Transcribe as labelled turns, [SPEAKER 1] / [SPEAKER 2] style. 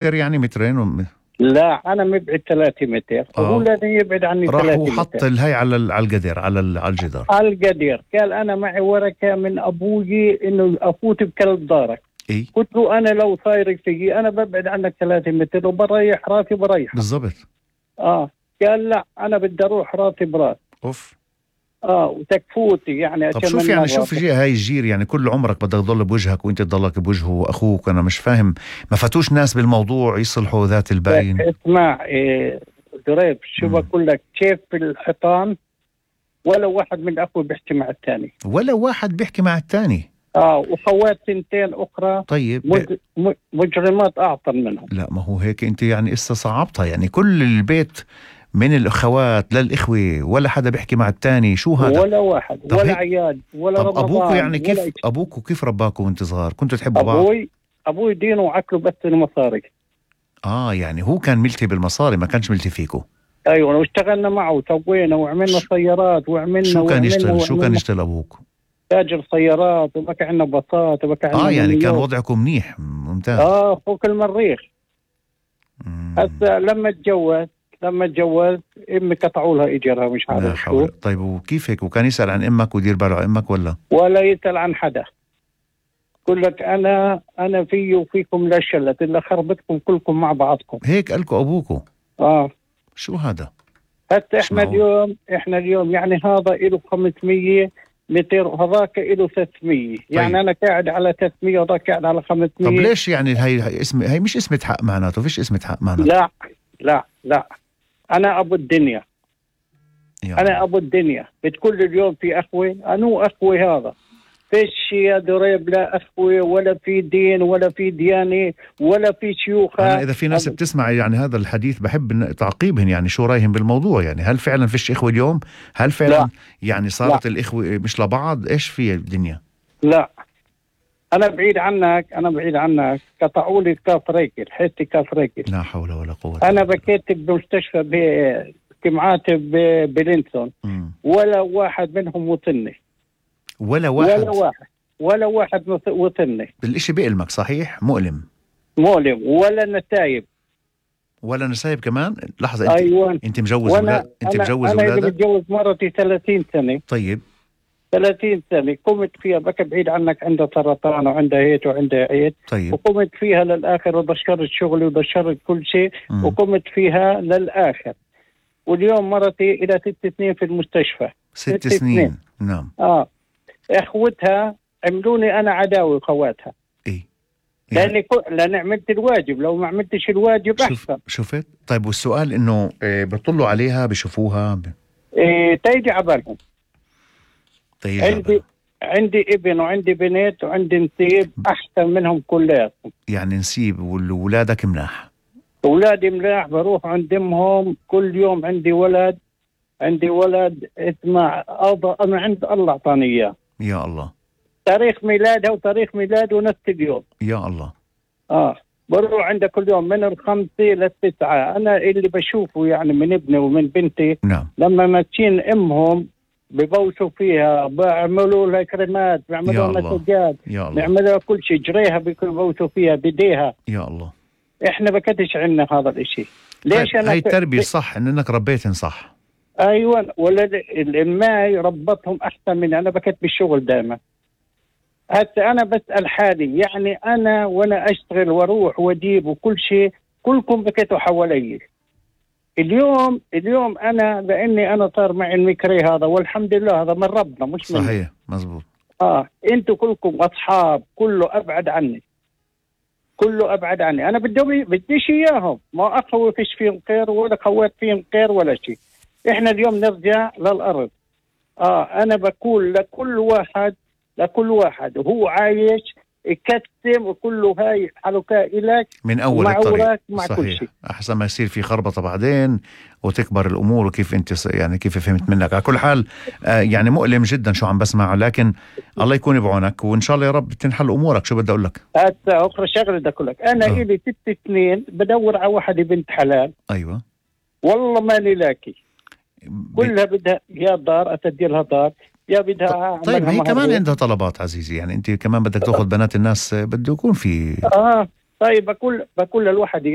[SPEAKER 1] يعني مترين
[SPEAKER 2] لا أنا مبعد 3 متر وهو لازم يبعد عني 3
[SPEAKER 1] راح
[SPEAKER 2] متر.
[SPEAKER 1] وحط الهي على القدر على الجدار.
[SPEAKER 2] على القدر. قال أنا معي ورقة من أبوي إنه أفوت بكلب دارك.
[SPEAKER 1] إيه؟
[SPEAKER 2] قلت له أنا لو صاير فيي أنا ببعد عنك 3 متر وبريح راسي بريح.
[SPEAKER 1] بالضبط.
[SPEAKER 2] قال لا أنا بدي أروح راسي براس.
[SPEAKER 1] أوف.
[SPEAKER 2] وتكفوتي يعني.
[SPEAKER 1] طب شوف يعني شوف هاي الجير يعني كل عمرك بدك تضل بوجهك وانت تضلك بوجهه واخوك. انا مش فاهم ما فاتوش ناس بالموضوع يصلحوا ذات الباين.
[SPEAKER 2] اسمع دريب شو بقول لك كيف بالحيطان ولا واحد من اخوي بيحكي مع الثاني.
[SPEAKER 1] ولا واحد بيحكي مع الثاني.
[SPEAKER 2] وخوات 2 اخرى
[SPEAKER 1] طيب
[SPEAKER 2] مجرمات اعطر منهم.
[SPEAKER 1] لا ما هو هيك انت يعني صعبتها يعني كل البيت من الأخوات للإخوة ولا حدا بيحكي مع التاني. شو هذا؟
[SPEAKER 2] ولا واحد ولا عيال ولا رمضان.
[SPEAKER 1] أبوكو يعني كيف أبوكو كيف رباكو وانت صغار؟ كنتوا تحبوا بعض؟
[SPEAKER 2] أبوي دينه وعقله بس المصاري.
[SPEAKER 1] يعني هو كان ملتي بالمصاري ما كانش ملتي فيكو.
[SPEAKER 2] أيوة واشتغلنا معه وسوينا وعملنا سيارات وعملنا.
[SPEAKER 1] شو كان يشتغل أبوك؟
[SPEAKER 2] تاجر سيارات وبكى عنا باصات وبكى عنا
[SPEAKER 1] يعني كان وضعكم منيح ممتاز.
[SPEAKER 2] فوق المريخ. هسه لما اتجوز امي قطعوا لها اجرها مش عارف شو.
[SPEAKER 1] طيب وكيف هيك وكان يسأل عن امك ويدير باله عن امك
[SPEAKER 2] ولا يسأل عن حدا. يقول لك انا في وفيكم لا شلت الا خربتكم كلكم مع بعضكم.
[SPEAKER 1] هيك قالكم ابوكم؟ شو هذا؟
[SPEAKER 2] حتى احنا اليوم يعني هذا له 500 متر وهذاك له 300. طيب. يعني انا قاعد على 300 وهذاك قاعد على 500.
[SPEAKER 1] طب ليش يعني هي مش اسمة حق معناته؟ فيش اسمة حق معناته.
[SPEAKER 2] لا أنا أبو الدنيا. أنا أبو الدنيا. بتقول اليوم في أخوي أنو أخوي هذا فيش يا دريب لا أخوي ولا في دين ولا في ديانة ولا في شيوخ.
[SPEAKER 1] أنا إذا في ناس بتسمع يعني هذا الحديث بحب تعقيبهم يعني شو رأيهم بالموضوع يعني هل فعلا فيش إخوة اليوم؟ هل فعلا لا. يعني صارت لا. الإخوة مش لبعض؟ إيش في الدنيا؟ لا
[SPEAKER 2] أنا بعيد عنك قطعوا لي كاف رجل حتى كاف رجل.
[SPEAKER 1] لا حول ولا قوة.
[SPEAKER 2] أنا بكيت بمستشفى بجمعات بلينسون ولا واحد منهم وصلني.
[SPEAKER 1] ولا واحد
[SPEAKER 2] وصلني.
[SPEAKER 1] الإشي بيألمك صحيح؟ مؤلم ولا نسايب كمان. لحظة أنت مجوز أولادك؟
[SPEAKER 2] أنا متجوز مرتي 30 سنة.
[SPEAKER 1] طيب
[SPEAKER 2] 30 سنة قمت فيها بك بعيد عنك عندها سرطان وعندها هيك وعندها عيد.
[SPEAKER 1] طيب.
[SPEAKER 2] وقمت فيها للآخر وبشرت شغلي وبشرت كل شيء وقمت فيها للآخر. واليوم مرتي إلى 6 سنين في المستشفى.
[SPEAKER 1] 6 سنين. نعم.
[SPEAKER 2] إخوتها عملوني أنا عداوي خواتها.
[SPEAKER 1] إيه
[SPEAKER 2] لأن عملت الواجب. لو ما عملتش الواجب أحسن.
[SPEAKER 1] شفت. طيب والسؤال إنه بيطلوا عليها بيشوفوها
[SPEAKER 2] تيجي عبالهم. عندي ابن وعندي بنت وعندي نسيب أحسن منهم كلياتهم.
[SPEAKER 1] يعني نسيب وولادك مناح؟
[SPEAKER 2] أولادي مناح بروح عند أمهم كل يوم. عندي ولد اسمع أنا عند الله أعطاني إياه.
[SPEAKER 1] يا الله.
[SPEAKER 2] تاريخ ميلادها وتاريخ ميلاده نفس اليوم.
[SPEAKER 1] يا الله.
[SPEAKER 2] بروح عنده كل يوم من 5 ل9. أنا اللي بشوفه يعني من ابني ومن بنتي.
[SPEAKER 1] نعم.
[SPEAKER 2] لما ماشيين أمهم ببوسوا فيها بيعملوا لها كريمات بيعملوا لها مسجات بيعملوا لها كل شيء جريها بيبوسوا فيها بديها.
[SPEAKER 1] يا الله.
[SPEAKER 2] احنا بكتش عنا هذا الاشي. ليش
[SPEAKER 1] هاي التربية صح انك ربيتن صح.
[SPEAKER 2] ايوه ولا الاماي ربطهم احسن مني. انا بكت بالشغل دائما. هسه انا بسأل حالي يعني انا وانا اشتغل واروح واجيب وكل شيء كلكم بكتوا حوالي. اليوم أنا لأني أنا صار معي المكري هذا والحمد لله هذا من ربنا مش
[SPEAKER 1] صحيح
[SPEAKER 2] مني.
[SPEAKER 1] مزبوط.
[SPEAKER 2] أنتوا كلكم أصحاب كله أبعد عني. أنا بديش إياهم. ما أخوي فيش فيهم خير ولا خوات فيهم خير ولا شيء. إحنا اليوم نرجع للأرض. أنا بقول لكل واحد وهو عايش يكتم وكله هاي حلقاء إلك
[SPEAKER 1] من أول الطريق. صحيح. أحسن ما يصير في خربطة بعدين وتكبر الأمور. وكيف أنت يعني كيف فهمت منك على كل حال يعني مؤلم جدا شو عم بسمعه. لكن الله يكون بعونك وإن شاء الله يا رب تنحل أمورك. شو بدي أقول لك
[SPEAKER 2] أخرى شغلة بدي أقول لك أنا إلي 6 سنين بدور على واحدة بنت حلال.
[SPEAKER 1] أيوة
[SPEAKER 2] والله ماني لاقي. كلها بدها يا دار أتدي لها دار يا بدها.
[SPEAKER 1] طيب هي كمان عندها طلبات عزيزي. يعني انت كمان بدك تاخذ بنات الناس بده يكون في
[SPEAKER 2] طيب بقول للواحد